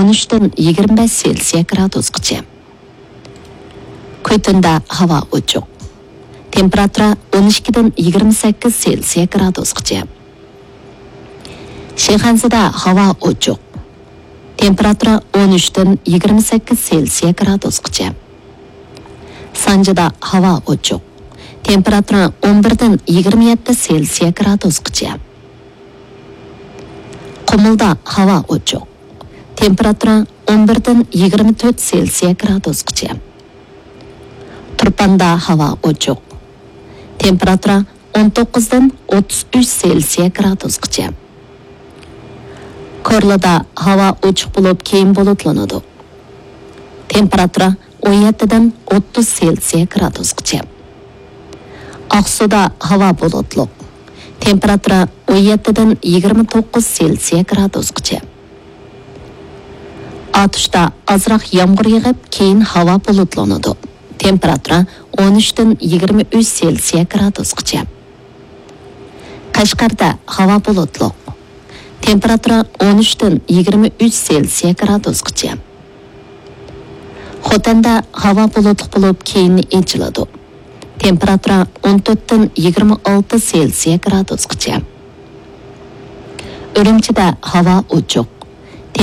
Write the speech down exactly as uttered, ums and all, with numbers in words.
ئون ئۈچتىن يىگىرمە بەش سېلسىيە گرادۇسقىچە. كۆتۈندە ھاۋا ئوچۇق. تېمپېراتۇرا ئون ئىككىدىن يىگىرمە سەككىز سېلسىيە گرادۇسقىچە. شىخەنزىدە ھاۋا ئوچۇق. تېمپېراتۇرا ئون ئۈچتىن يىگىرمە سەككىز سېلسىيە گرادۇسقىچە. سانجىدا ھاۋا ئوچۇق. تېمپېراتۇرا ئون بىردىن يىگىرمە يەتتە سېلسىيە گرادۇسقىچە. قۇمۇلدا ھاۋا ئوچۇق. تېمپېراتۇرا ئون بىردىن يىگىرمە تۆت سېلسىيە گرادۇسقىچە. تۇرپاندا ھاۋا ئوچۇق. تېمپېراتۇرا ئون توققۇزدىن ئوتتۇز ئۈچ سېلسىيە گرادۇسقىچە. كورلىدا ھاۋا ئوچۇق بولۇپ، كېيىن بۇلۇتلىنىدۇ. تېمپېراتۇرا ئون يەتتىدىن ئوتتۇز سېلسىيە گرادۇسقىچە. ئاقسۇدا ھاۋا بۇلۇتلۇق. تېمپېراتۇرا ئون يەتتىدىن يىگىرمە توققۇز سېلسىيە گرادۇسقىچە. ئاتۇشتا ئازراق يامغۇر يېغىپ، كېيىن ھاۋا بۇلۇتلىنىدۇ. تېمپېراتۇرا ئون ئۈچتىن يىگىرمە ئۈچ سېلسىيە گرادۇسقىچە. قەشقەردە ھاۋا بۇلۇتلۇق. تېمپېراتۇرا ئون ئۈچتىن يىگىرمە ئۈچ سېلسىيە گرادۇسقىچە. خوتەندە ھاۋا بۇلۇتلۇق بولۇپ، كېيىن ئېچىلىدۇ. تېمپېراتۇرا ئون تۆتتىن يىگىرمە ئالتە سېلسىيە گرادۇسقىچە. ئۈرۈمچىدە ھاۋا ئوچۇق.